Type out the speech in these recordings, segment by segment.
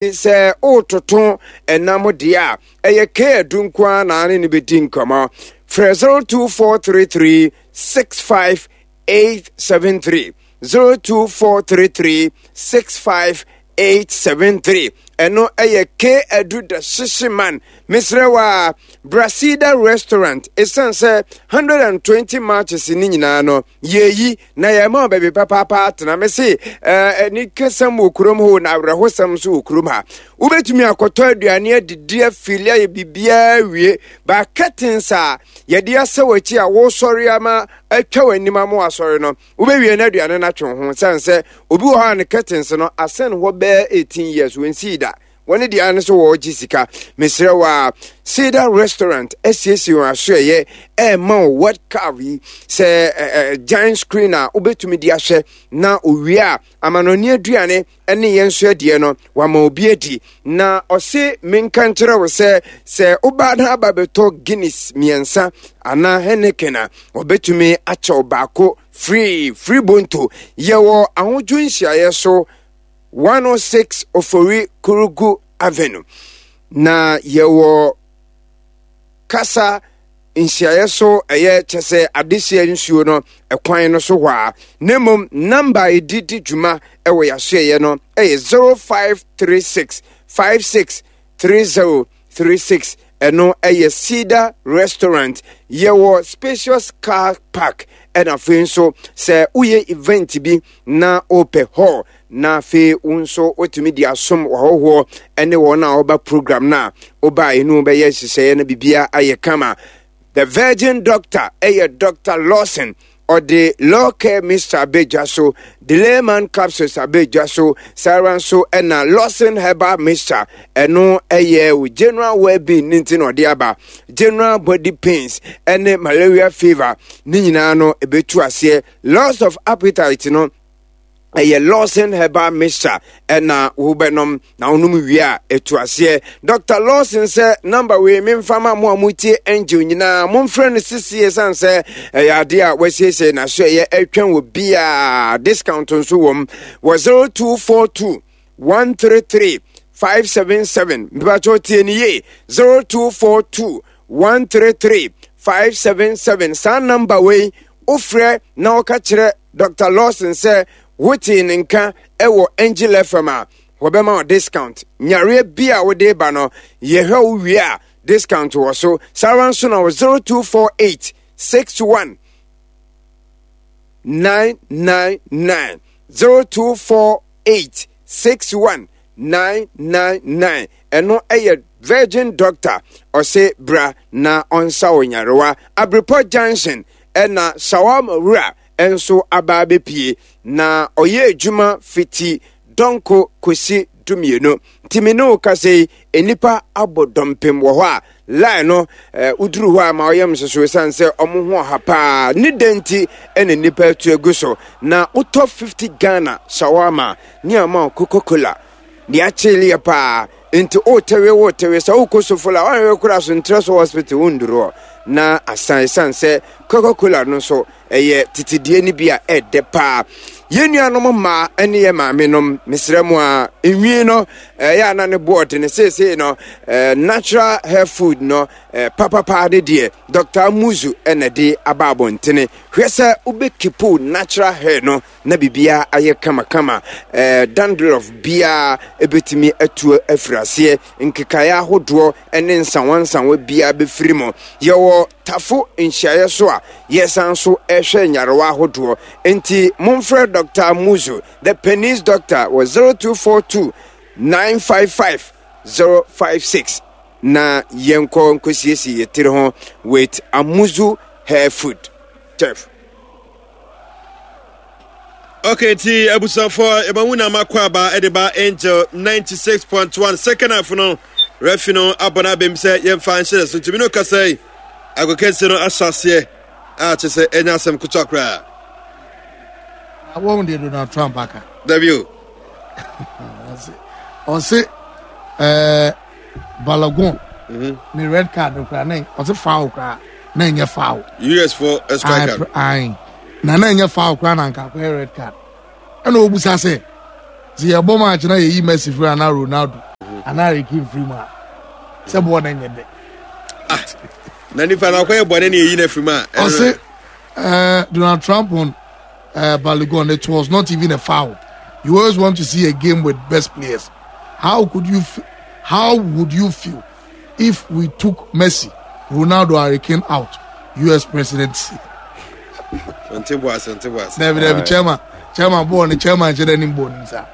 Sɛ woretoto ɛnam deɛ a, ɛyɛ K-Adu nko ara na ne no bɛdi nkɔmmɔ. Frɛ 02433 65873, 02433 65873. Ɛno ɛyɛ K-Adu the Hyehye Man. Mesrɛ wo a, Brasida Restaurant, ɛsiane sɛ 120 matches ne nyinaa no, Yɛyi na yɛma wo baabi papaapa atena. Me se anikasɛm wɔ kurom hɔ na awerɛhosɛm nso wɔ kurom ha. Wobɛtumi akɔtɔ aduane adidi afili ayɛ biribiara wie. Ba curtains a yɛde asɛ w'akyi a wosɔre ama atwa w'anim ama wasɔre no, wobɛwie no aduane no atwe ho. Sane sɛ obi wɔ hɔ a ne curtains no asɛn hɔ bɛɛ 18 years wɔnsii da. Wɔn deɛ ara ne sɛ wɔregye sika. Mesrɛ wo a, Cedar Restaurant asiesie wɔn asoɛeɛ ɛrema wo World Cup yi sɛ ɛ giant screen a wobɛtumi de ahwɛ na owie a amanɔne aduane ne yɛn nso adiɛ no wama obi adi. Na ɔse menka nkyerɛ wo sɛ sɛ wobaa na aba bɛtɔ Guinness mmiɛnsa anaa Heineken a wɔbɛtumi akyɛ wo baako free free bonto. Yɛwɔ ahodwo nhyiaeɛ so 106 Ofori Kurugu Avenue. Na yɛwɔ kasa nhyiaeɛ so ɛyɛ kyɛ sɛ adehyeɛ nsuo no ɛkwan no so hɔ a na mmom namba a ɛdi di dwuma ɛwɔ yɛasoɛeɛ no ɛyɛ 0536 56 3036 ɛno ɛyɛ Cedar Restaurant. Yɛwɔ spacious car park ɛna afei nso sɛ woyɛ event bi na wopɛ hall na afei wo nso wotumi de asom w'ahɔhoɔ ɛne wɔn a wɔba program no a woba a ɛnu bɛyɛ nhyehyɛeɛ no biribiara ayɛ kama. The Virgin Doctor ɛyɛ Dr. Lawson ɔde Law Care Mixture abɛ dwa so, Delayman Capsules abɛ dwa so, saa ara nso ɛna Lawson Herbal Mixture, ɛno ɛyɛ wo general well-being ne nti na ɔde aba, general body pains ɛne malaria fever ne nyinaa no ɛbɛtu aseɛ, loss of appetite no ɛyɛ Lawson herbal mixture ɛna wobɛnom na wonom wie a ɛtu aseɛ. Dr. Lawson sɛ namba wei memfa ma mo a motie Angel nyinaa momfrɛ no sisie ɛsiane sɛ ɛyɛ adeɛ a wasiesie n'aso ɛyɛ ɛtwɛn wɔ biaa discount nso wɔ m wɔ 0242 133 577 mepakyɛw tie ne yie 0242 133 577 saa namba wei wofrɛ na wɔka kyerɛ Dr. Lawson sɛ wotee ne nka wɔ Angel FM a, wɔbɛma wo discount. Nyareɛ bi a wode ba no, yɛhwɛ wo wie a, discount wɔ so. Saa ara nso na wɔ 0248 61 999 0248 61 999 ɛno ɛyɛ Virgin Doctor ɔse bra na ɔnsa wo nyarewa. Abrepɔ Junction ɛna Shawarma wura nso aba abɛpie na ɔyɛ adwuma fiti dɔnko kɔsi dumienu. Nti me ne wo kasa yi, nnipa abɔ dɔmpem wɔ hɔ a line no eh, woduru hɔ a ma ɔyɛ msoso ɛsiane sɛ ɔmo ho ɔha paa ne dɛn nti ɛna nnipa atu agu so na wotɔ 50 Ghana shawarma ne ama Coca-Cola deɛ akyeleɛ paa nti wotewe wotewe sɛ wokɔ sofola woanhwɛ kora so ntrɛ so hospital wonduru hɔ na asan ɛsiane sɛ Coca-Cola no nso ɛyɛ tetedie no bi a ɛdɛ paa yɛn nuanom mmaa ne yɛn maame nom mesrɛ mu a nwi no ɛyɛ ana ne boɔ de ne seesei no natural hair food no papapaa ne deɛ Dr. Amuzu ɛna de aba abɔntene hwɛ sɛ wobɛkipo natural hair no na biribiara ayɛ kamakama. Ɛɛ dandruff biara ebetumi atu afiri aseɛ, nkekaeɛ ahodoɔ ne nsawansawa biara bɛfiri mu. Yɛwɔ tafo nhyiaeɛ so a yɛsan so ɛhwɛ nyarewa ahodoɔ. Nti momfrɛ Dr. Muzu, the Penis Doctor wɔ 0242 955 056 na yɛnkɔ nkɔsiesie yɛ tiri ho with Amuzu hair food. Chef. Okay, nti abusuafoɔ yɛma mu na makɔ aba ɛde ba Angel 96.1 second half no refi no abɔ no abɛm sɛ yɛmfa nhyɛ so ntumi no kasa yi agokansie no ahyɛ aseɛ a kyɛ sɛ ɛnyɛ asɛm ketewa koraa. Wɔn deɛ Donald Trump aka. Dabi o. Ɔse ɛɛ Balogun ne red card no koraa na ɔse foul koraa na ɛnyɛ foul. US for a striker. Ayi na na ɛnyɛ foul koraa na nka akɔyɛ red card. Ɛna obusa sɛ sɛ yɛbɔ match na yɛyi Messi firi anaa Ronaldo. Anaa Harry Kane firi mu a, sɛ bɔɔl no nyɛ dɛ. Ah, na nipa na ɔkɔyɛ bɔne na eyi na firi mu a. Ɔse uh, Donald Trump on uh, Balogun, it was not even a foul. You always want to see a game with best players. How could you? How would you feel if we took Messi, Ronaldo, Harry Kane out? U.S. presidency. Nte bo ase, nte bo ase. Dabi dabi chairman, chairman bɔɔl ne chairman kyerɛ dɛ ne bɔɔl ne nsa.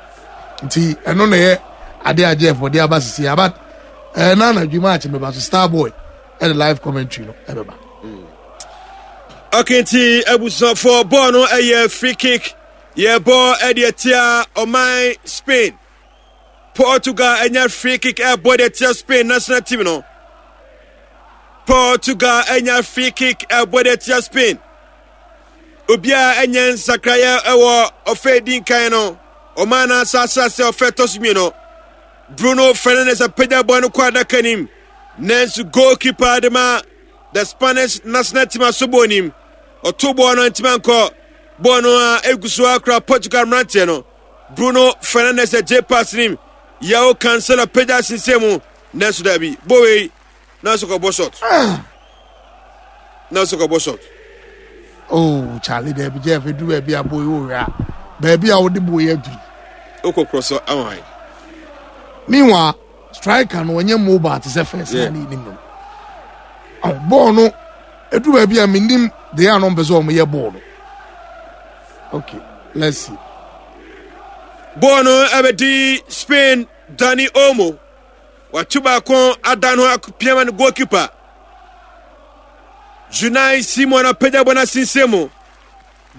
Nti ɛno na ɛyɛ ade a Jeff ɔde aba sisi aba ɛɛ na anadwo match bɛba so star boy ɛde live commentary no ɛbɛba. Okay, nti abusuafoɔ bɔɔl no ɛyɛ free kick yɛbɔ ɛde atia ɔman Spain. Portugal anya free kick ɛbɔ de atia Spain national team no. Portugal anya free kick ɛbɔ de atia Spain. Obiara anya nsakraeɛ ɛwɔ ɔfɛ di nkan no. Ɔman no asase ase ɔfɛ tɔ so mmienu. Bruno Fernandes apagya bɔ no kɔ adaka nim. Nanso goalkeeper de ma the Spanish national team asobɔ nim. Ɔto bɔɔl no ntoma nkɔ. Bɔɔl no a egu so akora Portugal mmeranteɛ no. Bruno Fernandes agye pass nim. Yao Cancelo apagya asensɛn mu. Nanso dabi, bɔ wei nanso kɔbɔ shot. Nanso kɔbɔ shot. Oh, Charlie, dabi Jeff, edu baabi a boy wo hwɛ a, baabi a wode boy aduru. Wokɔ korɔ so ama hwan? Meanwhile, striker no ɔnyɛ mobile te sɛ first na ne nim no. Bɔɔl no edu baabi a menim deɛ a no mpɛ sɛ wɔn yɛ bɔɔl no. Okay, let's see. Bɔɔl no ɛbɛdi Spain Dani Olmo. Wato baako adan ho akopia ma no goalkeeper. Unai Simon apagya bɔ no asensɛn mu.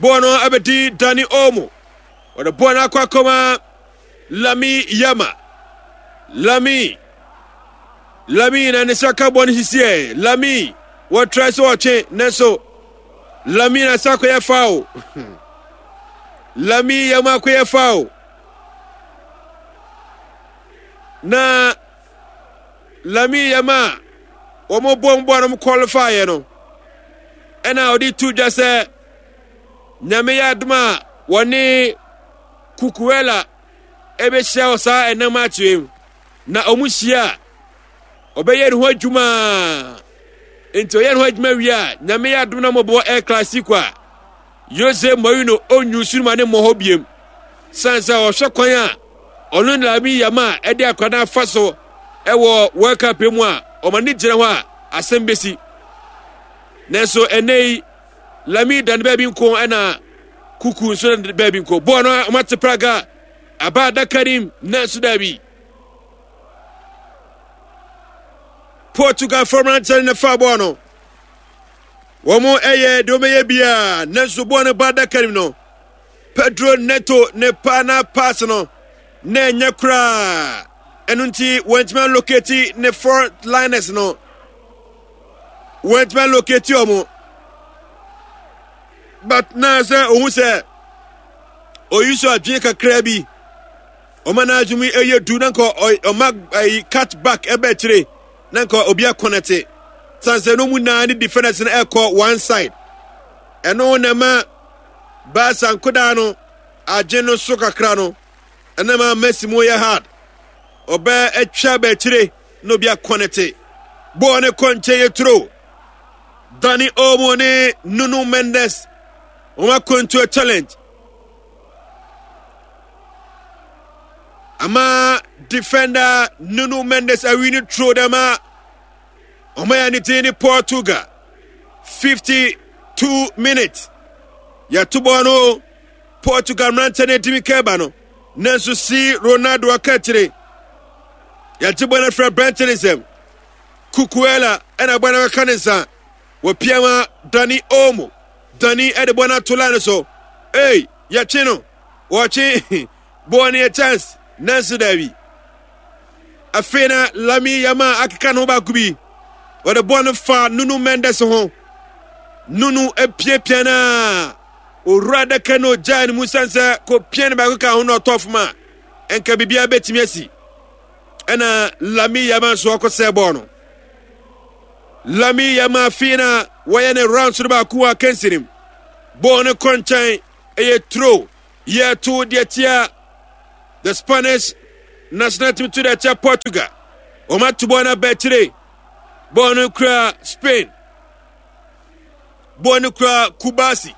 Bɔɔl no ɛbɛdi Dani Olmo. Wɔde bɔɔl no akɔ akɔma Lami Yama. Lami. Lami na ne nsa ka bɔɔl no sisiɛ. Lami wɔtra sɛ ɔtwe nanso Lami na nsa akɔyɛ foul. Lami Yama akɔyɛ foul. Na Lami Yama wɔn bɔ mbɔ no qualify no ɛna ɔde to dwa sɛ Nyame yɛ adom a wɔne Kukuela ɛbɛhyia wɔ saa ɛnam akyerɛ mu na wɔn hyia a ɔbɛyɛ ne ho adwuma nti ɔyɛ ne ho adwuma wie a Nyame yɛ adom na wɔbɔ El Clasico a Jose Mourinho ɔnyu so ma ne mmɔ hɔ biem san sɛ ɔhwɛ kwan a ɔno ne Lamine Yamal ɛde akwadaa no afa so ɛwɔ World Cup mu a ɔma ne gyina hɔ a asɛm bɛsi nanso ɛnɛ yi Lamine da ne baabi nko ɛna Kuku nso da ne baabi nko. Bɔɔl no wɔate praga aba adaka nim nanso daabi. Portugal fam mmeranteɛ no na fa bɔɔl no. Wɔn ɛyɛ deɛ wɔbɛyɛ biara nanso bɔɔl no ba adaka nim no. Pedro Neto ne pa na pass no na ɛnyɛ koraa. Ɛno nti wɔntumi alocate ne front liners no. Wɔntumi alocate wɔn. But na sɛ ohun sɛ oyi so adwene kakra bi ɔma n'adwene mu ɛyɛ du na nka ɔma ɛyi cut back ɛbɛ akyire na nka obi akɔnɛte san sɛ no mu naa ne defenders no ɛkɔ one side ɛno na ɛma baasa nkodaa no adwene no so kakra no ɛna ma Messi mu yɛ hard ɔbɛ atwa bɛ akyire na obi akɔnɛte bɔɔl ne kɔ nkyɛn yɛ turo Dani Olmo ne Nuno Mendes wɔn akwantuo challenge ama defender Nuno Mendes awi ne turo dɛm a wɔn ayɛ ne din ne Portugal 52 minutes yɛto bɔɔl no Portugal mmeranteɛ no atumi kɛba no nanso si Ronaldo aka akyire yɛgye bɔɔl no afiri aberante ne nsam Cucurella na bɔ no bɛka ne nsa. Wɔpia ma Dani Olmo. Dani de bɔ no ato line so. Ei, yɛtwe no. Wɔtwe bɔɔl no yɛ chance. Nanso daabi. Afei na Lami Yama akeka ne ho baako bi. Wɔde bɔɔl no fa Nuno Mendes ho. Nuno apiapia no a owura adaka no ogyaa ne mu sane sɛ kɔpia no baako ka ho na ɔtɔ fam a ɛnka biribiara bɛtumi asi. ɛna Lami Yama nso akɔsɛe bɔɔl no. Lami Yama afei na wɔyɛ ne rounds no baako wɔ akansi no mu. Bɔɔl no kɔ nkyɛn, ɛyɛ throw, yɛto deɛ tia the Spanish. national team to dɛ kyɛ Portugal. Wɔn ato bɔɔl no aba akyire. Bɔɔl no kura Spain. Bɔɔl no kura Kubasi.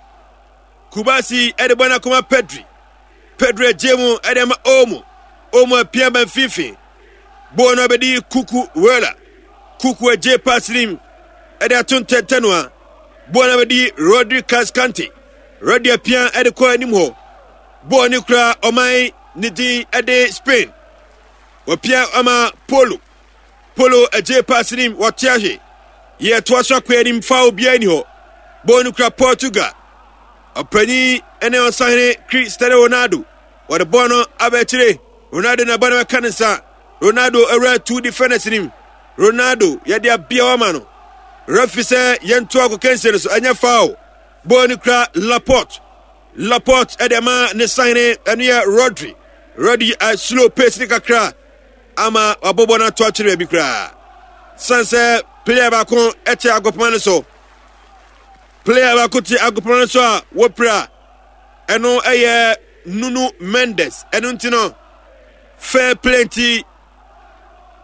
Kubasi de bɔɔl no akɔma Pedri. Pedri agye mu de ama Olmo. Olmo apia ba mfimfini. Bɔɔl no abɛdi Kuku Wela. Kuku agye pass nim de ato ntɛntɛnoa. Bɔɔl no abɛdi Rodri Cascante. Rodri apia de kɔ anim hɔ. Bɔɔl no kura ɔman ne din de Spain. Wɔpia ama Polo. Polo agye pass nim wɔte ahwe. Yɛtoa so akɔ anim fa obiara ni hɔ. Bɔɔl no kura Portugal. Ɔpanyin ne ɔsahene Cristiano Ronaldo. Wɔde bɔɔl no aba akyire. Ronaldo na bɔɔl no bɛka ne nsa. Ronaldo awura two defenders nim. Ronaldo yɛde abia ama no. Referee sɛ yɛnto akɔkansie no so ɛnyɛ foul. Bɔɔl no kura Laporte. Laporte ɛde ama ne sahene ɛno yɛ Rodri. Rodri a slow pace ne kakra ama wabɔbɔ no ato akyerɛ baabi koraa. San sɛ player baako ɛte agopoma no so. Player baako te agopoma no so a wɔpira ɛno ɛyɛ Nuno Mendes. Ɛno nti no fair play nti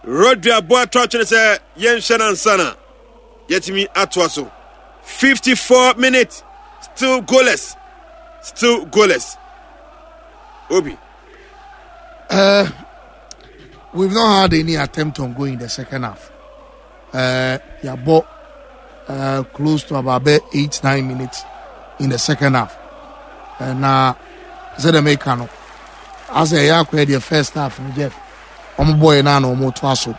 Rodri abɔ ato atwene sɛ yɛnhwɛ no ansa na yɛatumi atoa so. 54 minutes still goalless still goalless. Obi. We've not had any attempt on going in the second half. Yabo close to about 8-9 minutes in the second half. And sɛ dɛm eka no, asɛ ɛyɛ akɔyɛ deɛ first half no Jeff, wɔn bɔɔl na na wɔn to aso,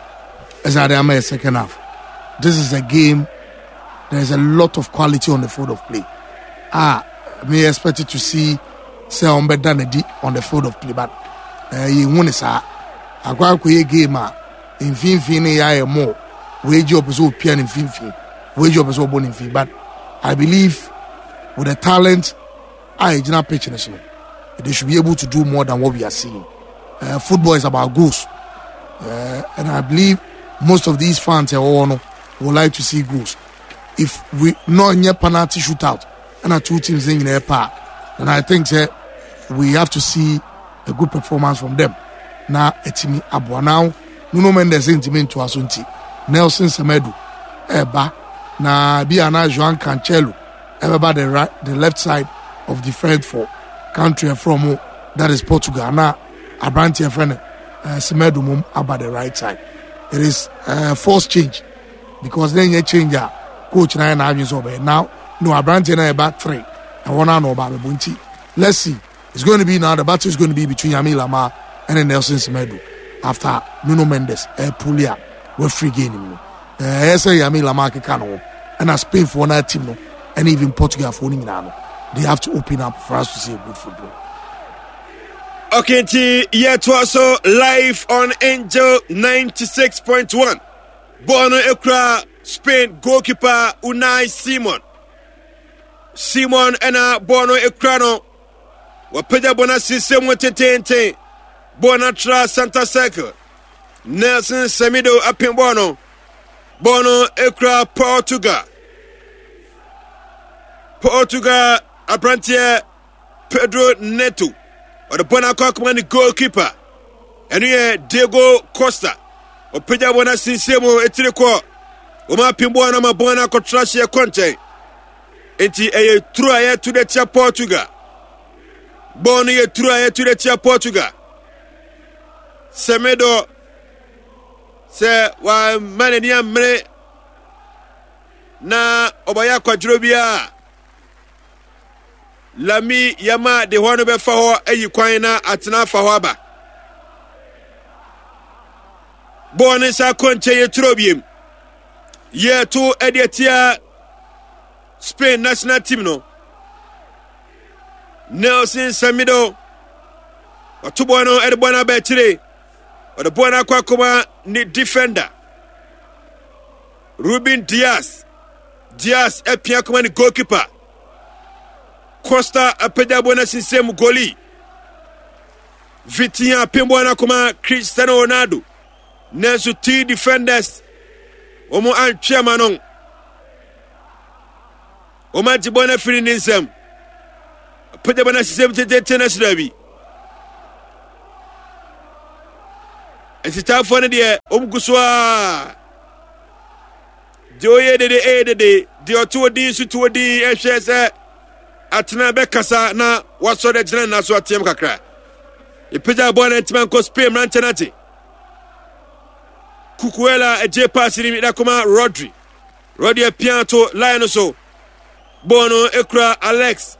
ɛsɛ ade ama yɛ second half. This is a game. There is a lot of quality on the field of play. Ah, me expect to see sɛ wɔn bɛda n'adi on the field of play, but yɛn hu ne saa. Akɔ akɔyɛ game a mfimfini ne yɛ ayɛ more. Wei gye ɔpɛ sɛ opia ne mfimfini, wei gye ɔpɛ sɛ ɔbɔ ne mfimfini, but I believe with the talent a egyina pitch ne so no, they should be able to do more than what we are seeing. Football is about goals, and I believe most of these fans ɛwɔ no would like to see goals. If we not nyɛ penalty shootout and two teams ne nyinaa pa, then I think say we have to see a good performance from them. Na etimi aboa now. Nuno Mendes ntumi ntoa so nti Nelson Semedo ɛɛba na bi ana Joan Cancelo ɛbɛba the right, the left side of defence for country ɛfrɛ mo that is Portugal na aberanteɛ frɛ no Semedo mom aba the right side. It is forced change because then yɛ change a coach na yɛ n'adwene sɛ ɔbɛyɛ now no aberanteɛ na ɛba three ɛhɔ no ana ɔba abɛbɔ nti let's see. It's going to be now the battle is going to be between Yami Lamar and Nelson Semedo after Nuno Mendes ɛɛ a free game no. Ɛyɛ sɛ Yami Lamar keka no ho ɛna Spain foɔ na team no and even Portugal foɔ no nyinaa no they have to open up for us to see a good football. Okay, nti yɛtoa so live on Angel 96.1. Bɔɔl no ekura Spain goalkeeper Unai Simon. Simon ɛna bɔɔl no ekura no. Wapagya bɔɔl no asensɛn mu tententen. Bɔɔl no atra center circle. Nelson Semedo apem bɔɔl no. Bɔɔl no ekura Portugal. Portugal aberanteɛ Pedro Neto. Ɔde bɔɔl no akɔ akɔma ne goalkeeper. Ɛno yɛ Diego Costa. Ɔpagya bɔɔl no asensɛn mu etiri kɔ. Wɔn apem bɔɔl no ama bɔɔl no akɔtra hyeɛ kɔ nkyɛn. Enti ɛyɛ turo a yɛto de tia Portugal. Bɔɔl no yɛ turo a yɛto de tia Portugal. Semedo sɛ wamma n'ani ammere na ɔbɛyɛ akwadworɔ biara Lami Yama de hɔ no bɛfa hɔ ayi kwan na atena afa hɔ aba. Bɔɔl no nsa kɔ nkyɛn yɛ turo biem. Yɛto de atia Spain national team no. Nelson Semedo ɔto bɔɔl no de bɔɔl no aba akyire. Ɔde bɔɔl no akɔ akɔma ne defender Ruben Dias. Dias apia kɔma ne goalkeeper. Costa apagya bɔɔl no asinsɛn mu goli. Vitinha apem bɔɔl no akɔma Cristiano Ronaldo. Nanso two defenders wɔn antwe ama no. Wɔn agye bɔɔl no afiri ne nsam. Apagya bɔɔl no asinsɛn mu tententen no ahyira bi. Asitaafoɔ no deɛ wɔn gu so a deɛ ɔyɛ dede ɛyɛ dede deɛ ɔto odin nso to odin ɛhwɛ sɛ atena bɛkasa na wasɔre agyina nna so ateam kakra. Epagya bɔɔl no ntoma nkɔ Spain mmeranteɛ no agye. Cucurella agye pass no mi kɔma Rodri. Rodri apia to line no so. Bɔɔl no ekura Alex.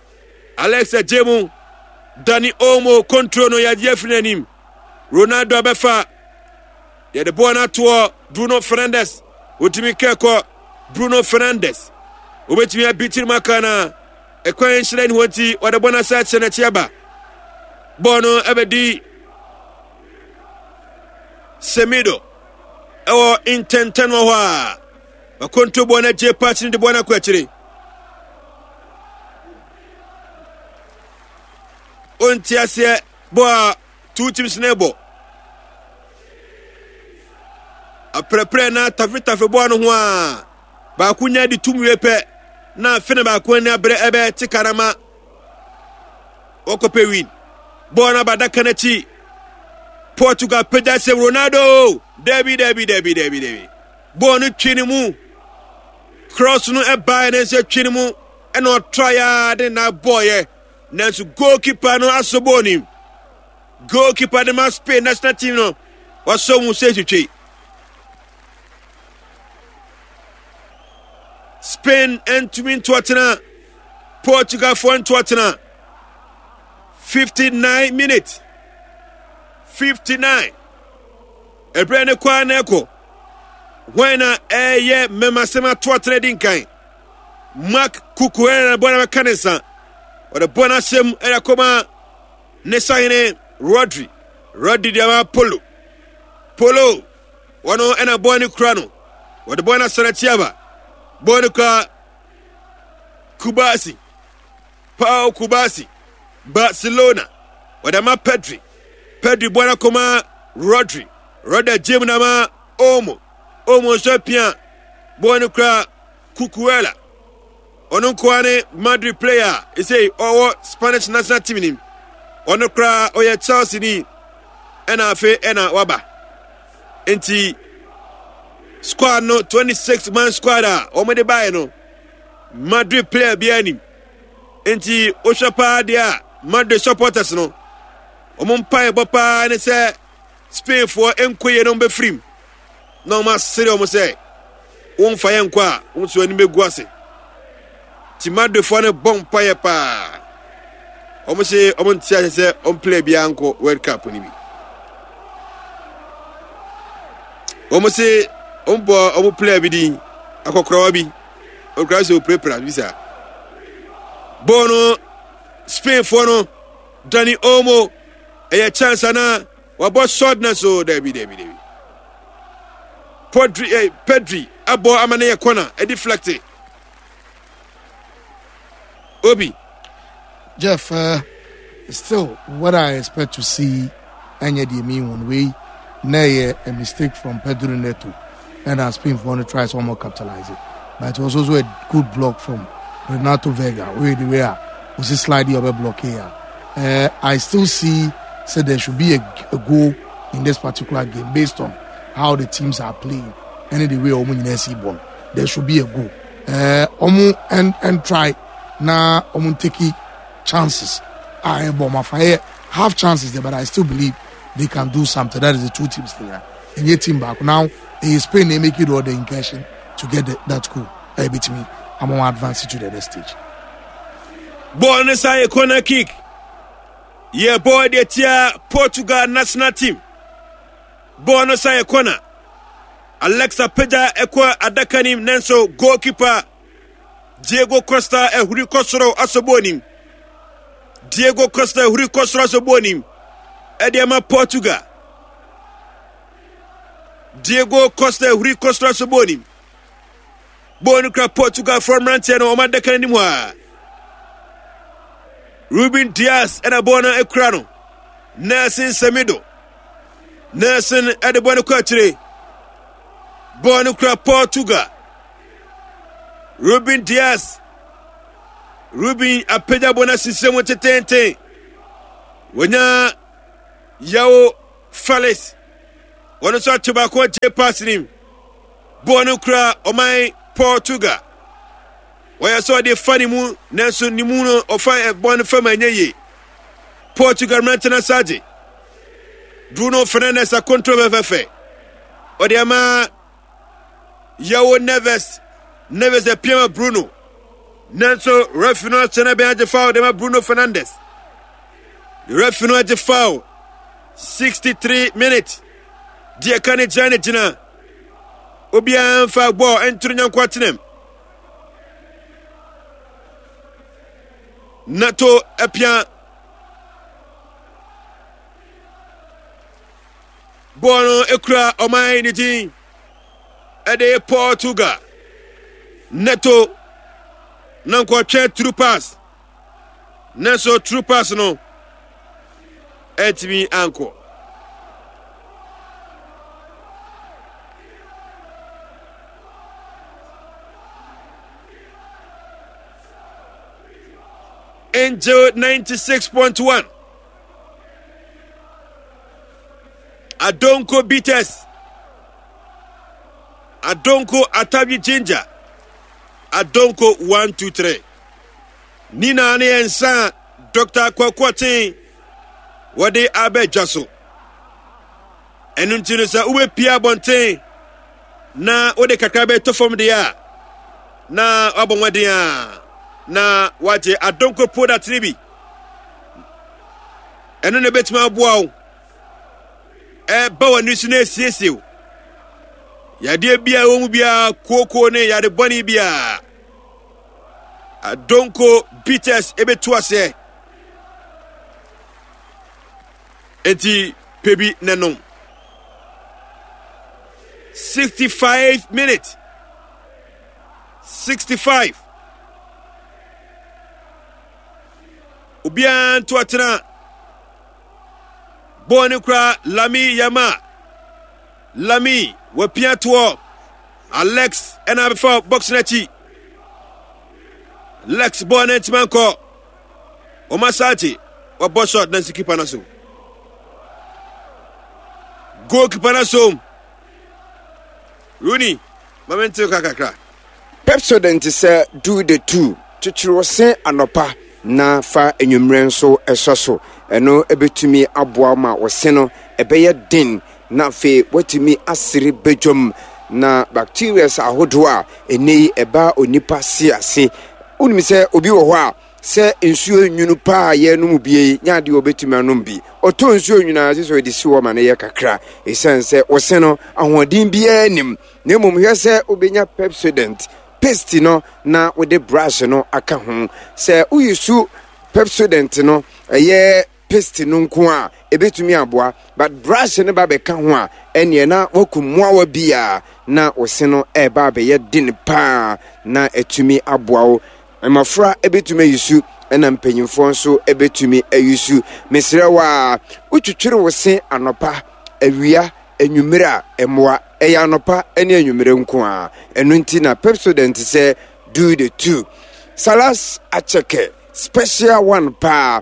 Alex agye mu. Dani Olmo control no yɛagye afiri n'anim. Ronaldo abɛfa. Yɛde bɔɔl no atoɔ Bruno Fernandes. Otumi kɛkɔ Bruno Fernandes. Obetumi abi tirim aka na ɛkwan nhyerɛn hɔ nti wɔde bɔɔl no asa akyerɛ n'akyi aba. Bɔɔl no ɛbɛdi Semido ɛwɔ ntɛntɛn wɔ hɔ a wakonto bɔɔl no agye paakye no de bɔɔl no akɔ akyire. Ɔnti aseɛ bɔɔl a two teams no bɔ. Aprɛprɛ na tafetafe bɔɔl no ho a baako nya de tum wie pɛ na afei na baako ani abere ɛbɛ te karama wɔkɔpɛ win. Bɔɔl no aba adaka no akyi. Portugal pagya sɛ Ronaldo. Dabi dabi dabi dabi dabi. Bɔɔl no twe ne mu. Cross no ɛbaeɛ ne nso twe ne mu ɛna ɔtra ya de na bɔɔyɛ. Nanso goalkeeper no asɔ bɔɔl no mu. Goalkeeper de ma Spain national team no wasɔ mu sɛ twitwi. Spain ntumi ntoatena Portugalfoɔ ntoatena 59 minutes 59 ɛberɛ ne kɔ a na ɛkɔ hwan na ɛyɛ mmɛmasɛm atoatena di nkan Mark Cucurella na bɔ na bɛka ne nsa ɔde bɔ no ahyɛ mu ɛde akɔma ne sahene Rodri Rodri de ama Polo Polo wɔn ɛna bɔɔl no kura no wɔde bɔɔl no asana tiaba bɔɔl no kura Kubasi Paul Kubasi Barcelona wɔde ama Pedri Pedri bɔɔl no akɔma Rodri Rodri gyem na ama Olmo Olmo nso apia bɔɔl no kura Cucurella ɔno nkoa ne Madrid player a ɛsei ɔwɔ Spanish national team nim ɔno koraa ɔyɛ Chelsea ni ɛna afei ɛna waba nti squad no 26 man squad a wɔde baeɛ no Madrid player biara nim nti wohwɛ paa deɛ a Madrid supporters no wɔn mpaebɔ paa ne sɛ Spainfoɔ nkɔ yie na wɔbɛfirim na wɔn asere wɔn sɛ wɔmfa yɛn nkɔ a wɔn nso anim bɛgu ase nti Madridfoɔ no bɔ mpaeɛ paa wɔn se wɔn nte ase sɛ wɔn player biara nkɔ World Cup no bi wɔn se wɔn bɔ wɔn player bi din akɔkorawa bi okura sɛ opirapira bi saa bɔɔl no Spainfoɔ no Dani Olmo ɛyɛ chance anaa wabɔ shot na so dabi dabi dabi Podri eh, Pedri abɔ ama no yɛ corner ɛdi deflect Obi. Jeff, uh, still what I expect to see ɛnyɛ deɛ mi wɔn wei na ɛyɛ a mistake from Pedro Neto ɛna Spain for no try sɛ wɔn capitalize it but it was also a good block from Renato Vega wey the way a osi slide yɛ ɔbɛ block yɛ a I still see say there should be a, a goal in this particular game based on how the teams are playing ɛne the way wɔn nyinaa si bɔ no there should be a goal wɔn ɛn ɛn try na wɔn take chances a ɛbɔ wɔn afa yɛ half chances there but I still believe they can do something that is the two teams there ɛnyɛ team baako now ɛyɛ Spain na make it all the incursion to get the, that goal ɛyɛ betumi ama wɔn advance to the next stage. Bɔɔl no san yɛ corner kick yɛ bɔɔl deɛ tia Portugal national team bɔɔl no san yɛ corner Alexa pagya ɛkɔ adaka nim nanso goalkeeper Diego Costa ahuri kɔ soro asɔ bɔɔl nim. Diego Costa ahuri kɔ soro asɔ bɔɔl nim. Ɛde ama Portugal. Diego Costa ahuri kɔ soro asɔ bɔɔl nim. Bɔɔl no kura Portugal foɔ mmeranteɛ no wɔn adaka no anim hɔ a. Ruben Dias ɛna bɔɔl no akura no. Nelson Semedo. Nelson ɛde bɔɔl no kɔ akyire. Bɔɔl no kura Portugal. Ruben Dias. Ruben apagya bɔ no asisire mu tetenten. Wɔnya Yao Felix. Wɔn nso ato baako agye pass nim. Bɔɔl no kura ɔman Portugal. Wɔyɛ sɛ ɔde fa ne mu nanso ne mu no ɔfa bɔɔl no fam ɛnyɛ yie. Portugal mmerante no asa agye. Bruno Fernandes akontro fɛfɛɛfɛ. Ɔde ama Yawo Neves. Neves apia ma Bruno. Nanso referee no ahyɛ no bɛn agye foul de ma Bruno Fernandes. Referee no agye foul. 63 minutes. Deɛ ka ne gyina ne gyina. Obiara mfa bɔɔl ntoro nyanko atenam. Nato apia bɔɔl no ekura ɔman ne din ɛde Portugal. Neto na nkɔtwɛn true pass nanso true pass no ɛntumi ankɔ. Angel 96.1 Adonko Bitters Adonko Atabi Ginger Adonko 123 Nina ne yɛn nsa a Dr. Kwaku Ɔten wɔde aba dwa so. Ɛno nti no sɛ wobɛpie abɔnten na wode kakra bɛtɔ fam deɛ a na wabɔ mmɔden a na wagye adonko product no bi. Ɛno na ɛbɛtumi aboa wo ɛba w'ani so na ɛsiesie wo yadeɛ biara ɛwɔ mu biara kooko ne yade bɔne biara adonko bitters ɛbɛtu aseɛ enti pɛ bi na nom 65 minutes 65 obiara nto atena bɔɔl no kura lami yama lami wapia toɔ alex ɛna abɛfa box no akyi lex bɔɔl no ntoma nkɔ wɔn asaakye wɔbɔ shot na nsi keeper no so goal keeper no so Rooney ma me ntew ka kakra. Pepsodent sɛ do the two, kyekyere wo se anɔpa na fa anwummerɛ nso sɔ so. Ɛno bɛtumi aboa wo ma wo se no ɛbɛyɛ den na afei woatumi asere badwam. Na bacterias ahodoɔ a ɛnnɛ yi ɛba onipa se ase. Wonim sɛ obi wɔ hɔ a Sɛ nsuo nwunu paa a yɛrenom bi yi nyɛ adeɛ a ɔbɛtumi anom bi. Ɔtɔ nsuo nwunu a, gye sɛ ɔde si hɔ ma no yɛ kakra. Ɛsiane sɛ ɔse no, ahoɔden biara nnim. Na mmom hwɛ sɛ wobɛnya Pepsodent paste no na wode brush no aka ho. Sɛ woyusu Pepsodent no, ɛyɛ paste no nko a, ɛbɛtumi aboa. But brush no ba bɛka ho a, ɛnneɛ na wakum mmoawa bi a na wo se no ɛreba abɛyɛ den paa na atumi aboa wo. Mmɔfra bɛtumi ayi su ɛna mpanyinfoɔ nso bɛtumi ayi su. Mesrɛ wo a, wotwitwiri wo se anɔpa, awia, anwummere a, ɛmmoa. Ɛyɛ anɔpa ne anwummere nko ara. Ɛno nti na Pepsodent sɛ do the two. Salas Akyɛkɛ, special one paa.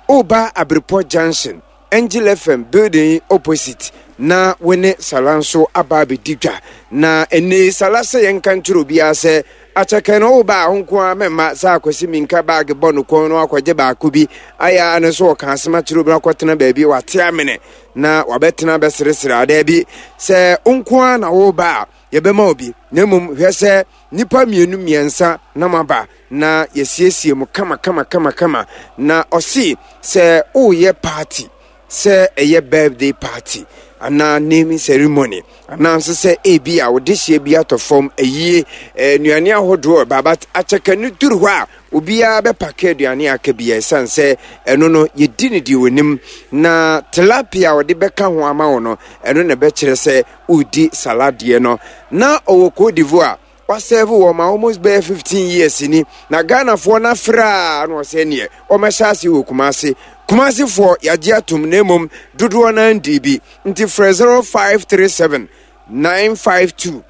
Woba Abirepɔ Junction, Angel FM building yi opposite na wo ne Salah nso aba abɛdi dwa. Na ɛnnɛ yi Salah sɛ yɛnka nkyerɛ obiara sɛ akyɛkɛ no woba a wo nko ara mɛmma sɛ akwasi minka baage bɔ no kɔn no akɔgye baako bi ayɛ a no nso ɔka asɛm akyerɛ obi akɔtena baabi wate amene na wabɛtena bɛseresere a daabi sɛ wo nko ara na woba a yɛbɛma obi na mmom hwɛ sɛ nnipa mmienu mmiɛnsa na moaba na yɛsiesie mo kama kama kama kama na ɔse sɛ woyɛ party sɛ ɛyɛ birthday party anaa naming ceremony anaa nso sɛ ebi a wode hyia bi atɔ fam ayie eh, nnuane ahodoɔ baba akyɛkɛ no duru hɔ a obiara bɛpake aduane aka bi ɛsiane sɛ ɛno no yɛdi no deɛ onim na tilapia a wɔde bɛka ho ama wo no ɛno na ɛbɛkyerɛ sɛ woredi saladeɛ no na ɔwɔ Cote d'Ivoire wasɛve wɔ ma almost bɛyɛ 15 years ni na Ghanafoɔ no afrɛ a na ɔsɛ neɛ ɔmɛhyɛ ase wɔ Kumase Kumasefoɔ yɛagye atom na mmom dodoɔ no ndii bi nti frɛ 0537 952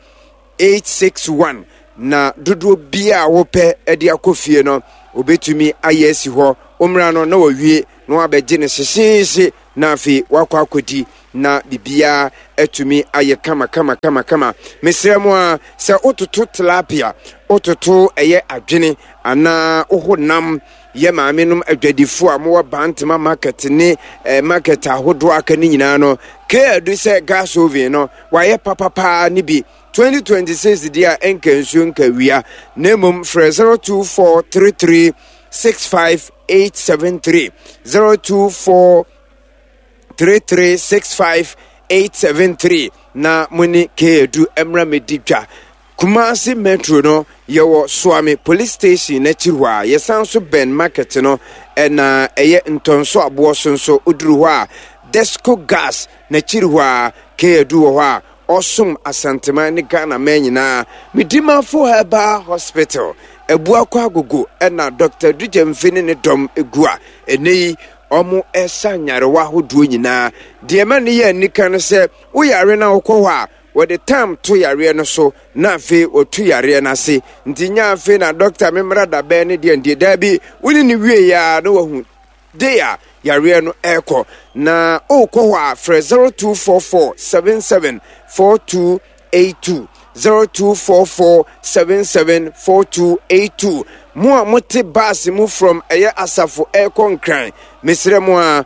861 na dodoɔ biara a wopɛ de akɔ fie no obɛtumi ayɛ asi hɔ wommra no na wawie na wabɛgye no hyehyeehye. na afei wakɔ akɔdi na biribiara atumi ayɛ kama kama kama kama. Mesrɛ mo a sɛ wototo tilapia, wototo ɛyɛ adwene anaa woho nam yɛ maame nom adwadifo a mowɔ Bantama market ne eh, market ahodoɔ aka ne nyinaa no, keadu sɛ gas oven no wayɛ papapaa ne bi 2026 deɛ a ɛnka nsuo nka wia na mmom frɛ 02433 65873 024 3365873 na mo ne K-Edu mmra mmɛdi dwa. Kumasi Metro no, yɛwɔ Suame Police Station n'akyiri hɔ a, yɛsan nso bɛn market no, ɛna ɛyɛ Ntɔnso aboɔ so nso, woduru hɔ a, Desco Gas n'akyiri hɔ a, K-Edu wɔ hɔ a, ɔsom Asanteman ne Ghana man nyinaa. Medimafo Herbal Hospital, Abuakwa Agogo ɛna Dr. Adu Gyamfi ne ne dɔm gu a, ɛnɛ yi Wɔsa nyarewa ahodoɔ nyinaa. Deɛ ɛma no yɛ anika no sɛ, woyare na wokɔ hɔ a, wɔde tam to yareɛ no so na afei wɔtu yareɛ no ase. Nti nyɛ afei na dɔkta memmra dabɛn ne deɛ ndeɛ. Daabi, wo ne no wie a na wahu day a yareɛ no ɛrekɔ. Na wokɔ hɔ a, frɛ 0244 77 42 82 0244 77 4282 Mo a mote bus mu from ɛyɛ asafo ɛrekɔ Nkran, mesrɛ mo a,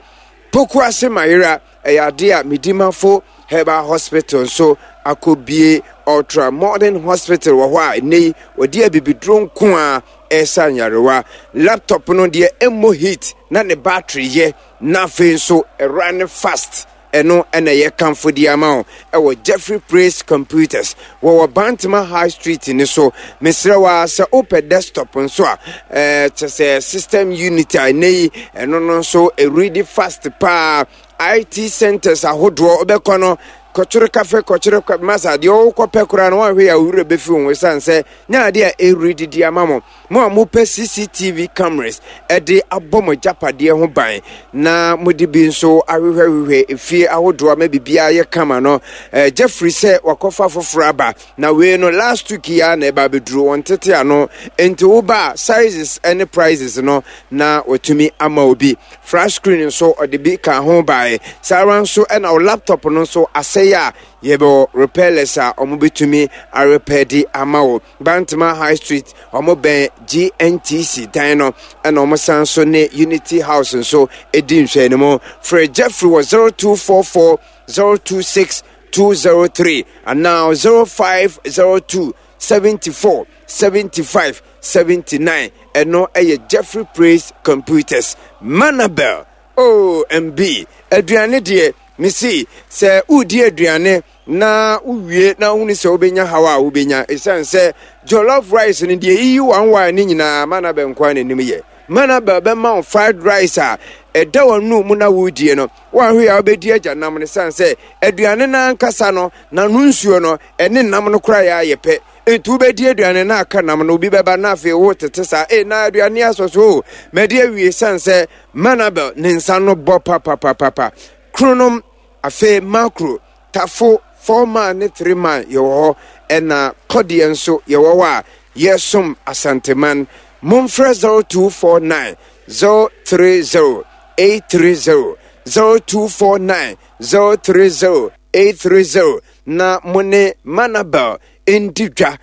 Pokuase Mayera ɛyɛ adeɛ a Medimafo Herbal Hospital nso akɔbie Ultra Modern Hospital wɔ hɔ a ɛnnɛ yi wɔde abibiduro nko a ɛresa nyarewa. Laptop no deɛ ɛmmɔ heat na ne battery yɛ na afei nso ɛrun fast. Ɛno na ɛyɛ kamfo de ama wo ɛwɔ Jeffrey Praise Computers. Wɔwɔ Bantama High Street no so. Mesrɛ wo ara sɛ wopɛ desktop nso a, ɛɛ kyɛ sɛ system unit a ɛnɛ yi ɛno no nso ɛredi fast paa. IT centers ahodoɔ wobɛkɔ no kɔkyere kafe kɔkyere masa deɛ wokɔpɛ koraa no woanhwɛ yɛ a wo werɛ bɛfi wo ho ɛsiane sɛ nyɛ adeɛ a ɛredi de ama mo. Mo a mopɛ CCTV cameras de abɔ mo agyapadeɛ ho ban na mode bi nso ahwehwɛhwehwɛ efie ahodoɔ ama biribiara yɛ kama no, eh, Jeffrey sɛ wakɔfa foforɔ aba na wei no last week yi ara na ɛba abɛduru wɔn tete ano nti woba a sizes ne prices no na watumi ama obi. Flash screen nso ɔde bi ka ho bae. Saa ara nso ɛna wo laptop no nso asɛe a yɛbɛwɔ repairless a wɔbɛtumi arepɛ de ama wo. Bantama High Street, wɔn bɛn GNTC dan no, ɛna wɔn san so ne Unity House nso di nhwɛanimu. Frɛ Jeffrey wɔ 0244 026 203 anaa 0502 74 75 79. Ɛno yɛ Jeffrey Praise Computers. Manabel, OMB, aduane deɛ, mesi sɛ woredi aduane na wowie na wohunu sɛ wobɛnya haw a wobɛnya ɛsiane sɛ jollof rice no deɛ yiyi wanwan ne nyinaa manabel nko ara n'anim yɛ manabel bɛma wo fried rice a ɛda w'ano mu na woredie no woahwe a wobɛdi agya nam no ɛsiane sɛ aduane no ankasa no n'ano nsuo no ɛne nam no koraa yɛ ayɛ pɛ nti wobɛdi aduane no aka nam no obi bɛba na afei wotete saa e na aduane asɔ so o madi awie ɛsiane sɛ manabel ne nsa no bɔ papapapapa kronom Afei Makro, Tafo, Four-man ne Three-man yɛwɔ hɔ, ɛna Kɔdeɛ nso yɛwɔ hɔ a yɛresom Asanteman. Momfrɛ 0249 030 830, 0249 030 830 na mo ne Manabel ndi dwa.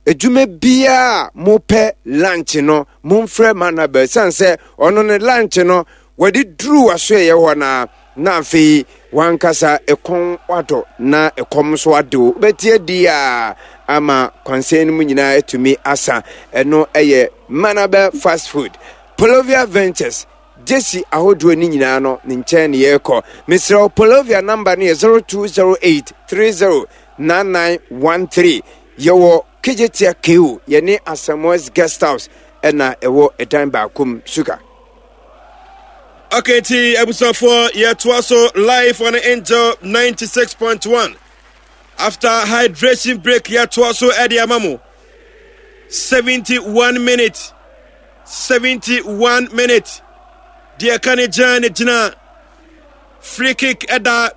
Adwuma biara a mopɛ lunch no, momfrɛ Manabel ɛsiane sɛ ɔno ne lunch no wɔde duru w'asoɛeɛ hɔ no ara na afei wankasa ɛkɔn wadɔ na ɛkɔm nso ade wo. Wobɛte adi a ama kwansɛn no mu nyinaa atumi asa. Ɛno ɛyɛ Manabel Fast Food. Polovia Ventures, Gyesi ahodoɔ no nyinaa no ne nkyɛn ne yɛrekɔ. Mesrɛ wo, Polovia namba no yɛ 0208 30 9913. Yɛwɔ Kejetia KO, yɛne Asamoah's Guest House ɛna ɛwɔ ɛdan baako mu. Suka. Okay, nti abusuafoɔ yɛtoa so live on Angel 96.1 after hydration break yɛtoa so ɛde ama mo 71 minutes 71 minutes deɛ ɛka ne gyina ne gyina free kick ɛda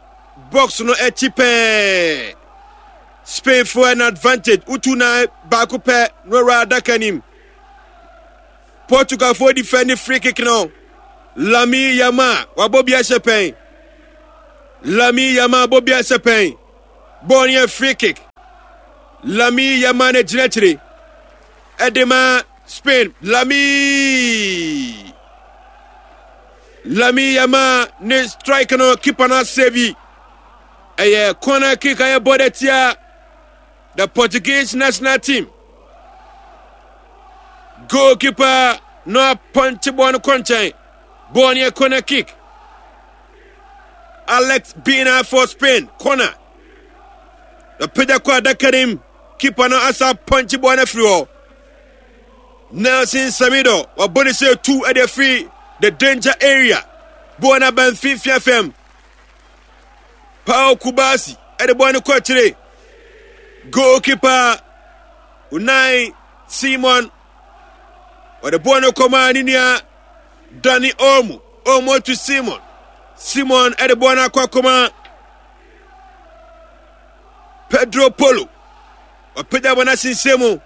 box no akyi pɛɛ Spain foɔ an advantage wotu nan baako pɛ na ɔwura adaka nim Portugal foɔ defend free kick no Lamine Yamal wabɔ bi ahyɛ pɛn. Lami Yamal bɔ bi ahyɛ pɛn. Bɔɔl no yɛ free kick. Lami Yamal na gyina akyire ɛde ma Spain. Lami Lami Yamal ne strike no keeper no asave. Ɛyɛ corner kick a yɛbɔ de tia the Portuguese national team. Goalkeeper no apɔnkye bɔɔl no kɔ nkyɛn. Bɔɔl no yɛ corner kick. Alex Bina for Spain corner. Apagya kɔ adaka no mu. Keeper no asa apɔnkye bɔɔl no afiri hɔ. Nelson Semedo wabɔ ne sɛ tu de afiri the danger area. Bɔɔl no aba mfimfini afam. Paul Kubasi de bɔɔl no kɔ akyire. Goalkeeper Unai Simon wɔde bɔɔl no kɔmaa ne nua Dani Olmo. Olmo to Simon. Simon de bɔɔl no akɔ akɔma Pedro Polo. Wapagya bɔ no asensɛn mu.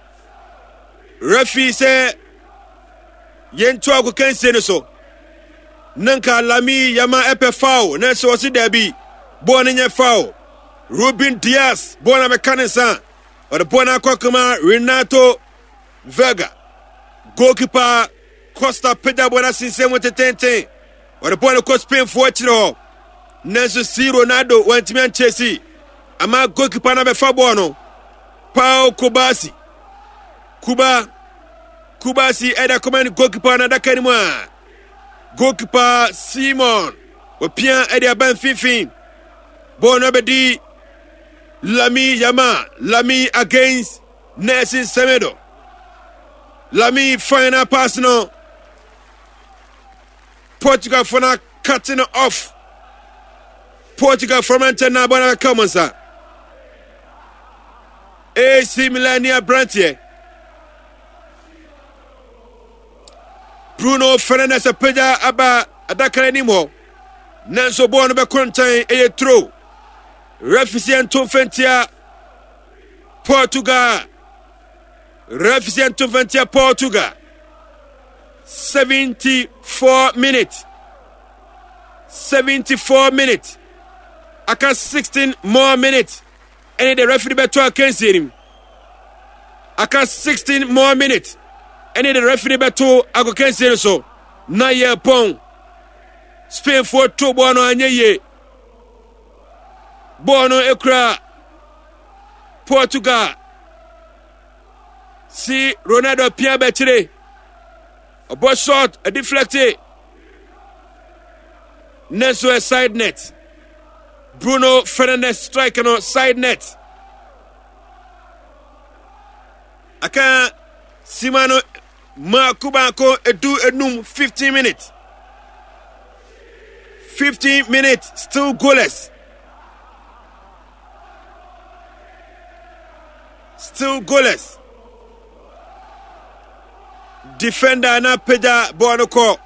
Referee sɛ yɛnto agokansie no so. Na nka Lami Yama ɛpɛ foul nanso ɔse daabi bɔɔl no nyɛ foul. Ruben Dias bɔɔl no abɛka ne nsa. Ɔde bɔɔl no akɔ akɔma Renato Vega. Goalkeeper Costa pagya bɔɔl no asensɛn mu tetenten. Ɔde bɔɔl no kɔ Spainfoɔ akyire hɔ. Nanso si Ronaldo wantumi ankyɛsi ama goalkeeper no abɛfa bɔɔl no. Pau Kubasi. Kuba Kubasi ɛda kɔma ne goalkeeper no adaka no mu a goalkeeper Simon wɔpia ɛde aba mfimfini. Bɔɔl no abɛdi Lami Yama Lami against Nelson Semedo. Lami final pass no. Portugal fo no cut no off. Portugal fo mmeranteɛ no abɔ no abɛka wɔn nsa. AC Milan ni aberanteɛ. Bruno Fernandes apagya aba adaka no anim hɔ. Nanso bɔɔl no bɛkɔ nkyɛn ɛyɛ turo. Referee nto mfɛntia Portugal. Referee nto mfɛntia Portugal. 74 minutes. 74 minutes. Aka 16 more minutes. Ɛne the referee bɛtɔ akansie nim. Aka 16 more minutes. Ɛne the referee bɛto agokansie no so. Na yɛ pɔn. Spainfoɔ to bɔɔl no anyɛ yie. Bɔɔl no ekura Portugal. Si Ronaldo pia bɛkyire. Ɔbɔ shot, deflecte. Nanso ɛ side net. Bruno Fernandes strike no side net. Aka sima no mako baako edu enum 15 minutes. 15 minutes still goalless. Still goalless. Defender na pagya bɔɔl no kɔ.